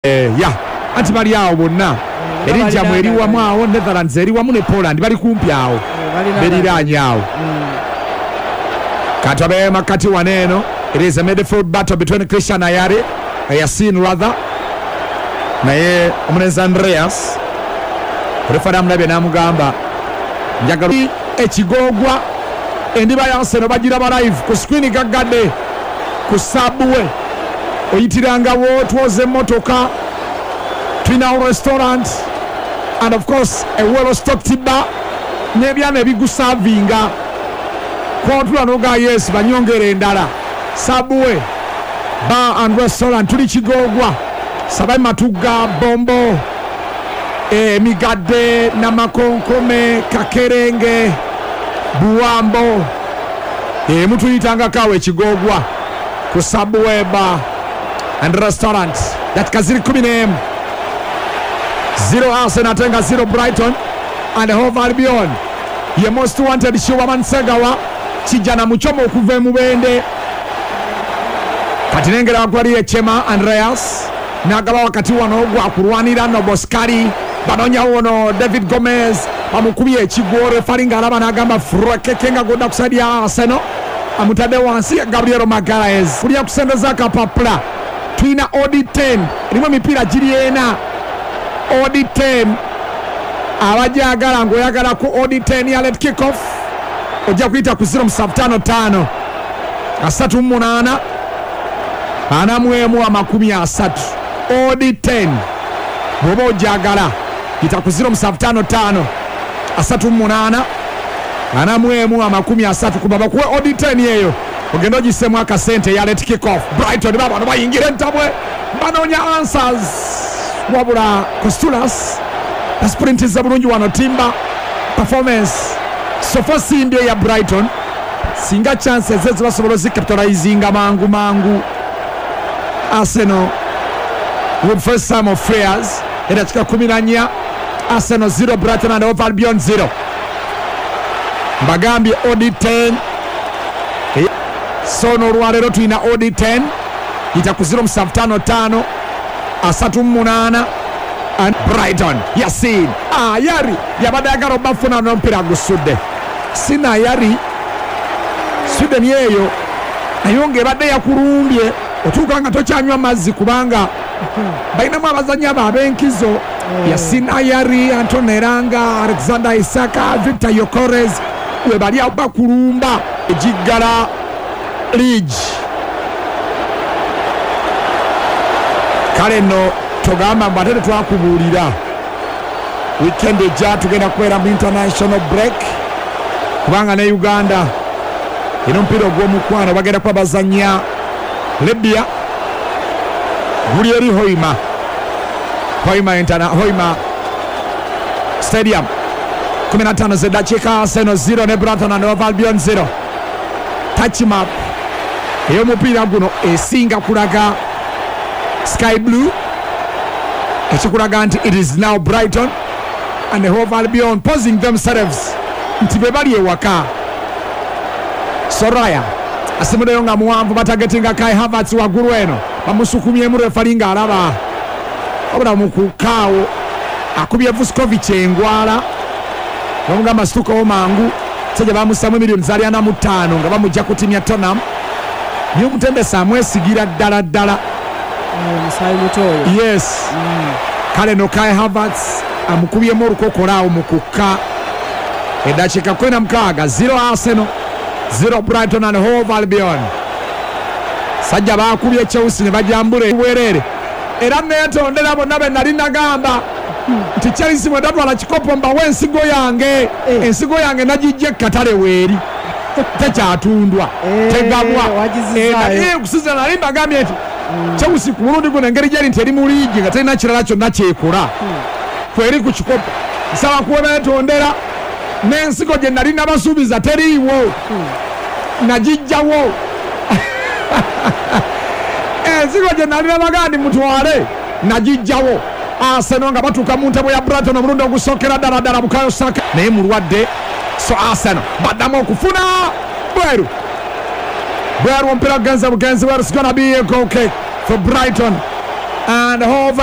Ya, anti bali awo bonna. Belgium eri wamu awo, Netherlands eri wamu ne Poland, bali kumpi awo, beriranye awo. Kati abe makati wano eno, it is a midfield battle between Christian Ayari, Yasin rather, naye omulenzi Andreas. Refari amulabye n'amugamba njagala ekigogwa. Endiba ya Arsenal bagiraba live ku screen gaggadde ku Subway, oyitirangawo twoza emmotoka. Tulinawo restaurant and of course a well stocked bar n'ebyana ebigusavinga kwotula noga yes banyongera endala. Subway Bar and Restaurant, tuli Kigogwa, Sabai, Matugga, Bombo, Emigadde, Namakonkome, Kakerenge, Buwambo. Mutuyitangako awo Ekigogwa ku Subway Bar and Restaurant. Dakika ziri 11, 0 Arsenal ate nga 0 Brighton and Hove Albion. Ye most wanted Shiwaman Segawa kijana muchomo okuva emubende. Kati nengera waggulu echema Andreas n'agaba wakati wano gwakulwanira Noboskari, banonyawo ono David Gomez, bamukubye ekigwo. Refari ng'alaba n'agamba free kick nga godda ku side ya Arsenal. Amutadde wansi Gabriel Magalhaes kulya kusembeza akapapula. Tulina odd 10, erimu emipiira giri ena. Odd 10, abajagala ng'oyagala ku odd 10 ya Late Kick Off, ojja kuyita ku 0755 38 41 30. Odd 10, bw'oba ojagala yita ku 0755 38 41 30, kuba bakuwe odd 10 eyo ogenda ogisemu akasente ya Late Kick Off. Brighton babano bayingira entabwe, banoonya answers, wabula Costulas asprintiza bulungi wano. Timba performance so far simbi ya Brighton, singa chances ze basobola ozicapitalizinga mangu mangu. Arsenal with first time of flares. Edakika 14, Arsenal 0, Brighton and Hove Albion 0. Mbagambye odd 10. So n'olwaleero tulina odd 10, yita ku 0755 38 and Brighton. Yasin Ayari yabadde ayagala obafuna n'omupiira gusudde. Sina Ayari, Sweden eyo nayo ng'ebadde yakulumbye, otuuka nga tokyanywa mazzi kubanga balinamu abazannyi abo ab'enkizo: Yasin Ayari, Anton Eranga, Alexander Isaka, Victor Gyökeres, we bali awo bakulumba egiggala league. Kale nno togamba mbu ate tetwakubuulira. Weekend ejja tugenda kubeera mu international break, kubanga ne Uganda eno omupiira ogw'omukwano bagenda kuba bazanya Libya, guli eri Hoima, Hoima Stadium. 15 zeddakiika, Arsenal 0 ne Brighton and Hove Albion 0. Touch map ey'omupiira guno esinga kulaga sky blue, ekikulaga nti it is now Brighton and Hove Albion posing themselves nti be bali ewaka. Soraya asimuddeyo nga muwanvu, batagetinga Kai Havertz waggulu eno, bamusukumyemu. Refali ng'alaba, wabula mukukaawo akubye Vuskovic engwala, bamugamba situkawo mangu. Sajja bamusamu emiliyoni zaali 45 nga bamujja ku tiimu ya Tottenham, naye omutendesi amwesigira ddala ddala. Musaayi muto oyo. Yes. Kale no Kai Havertz amukubyemu olukokola awo mu kukka. Eddakiika 16, 0 Arsenal, 0 Brighton and Hove Albion. Sajja bakubye Chelsea ne bajambula bwerere, era neetondera bonna be nali nagamba nti Chelsea bwe kikopo mbawe ensigo yange. Ensigo yange nagijja ekkatale, weeri tekyatundwa, tegabwa. Okusinzira nali mbagambye nti Chelsea ku mulundi guno engeri gyeri nti eri mu liigi nga terina kirala kyonna kyekola, kweri ku kikopo, nsaba kubeetondera n'ensigo gye nali nabasuubiza teriiwo, nagijjawo. Ensigo gye nali nabagaa ndi mutwale, nagijjawo. Arsenal nga batuuka mu ntabo ya Brighton omulundi ogusookera ddala ddala. Bukayo Saka naye mulwadde, so Arsenal baddamu okufuna bweru bweru, omupiira gugenze bugenzi bweru. It's gonna be a goal kick for Brighton and Hove.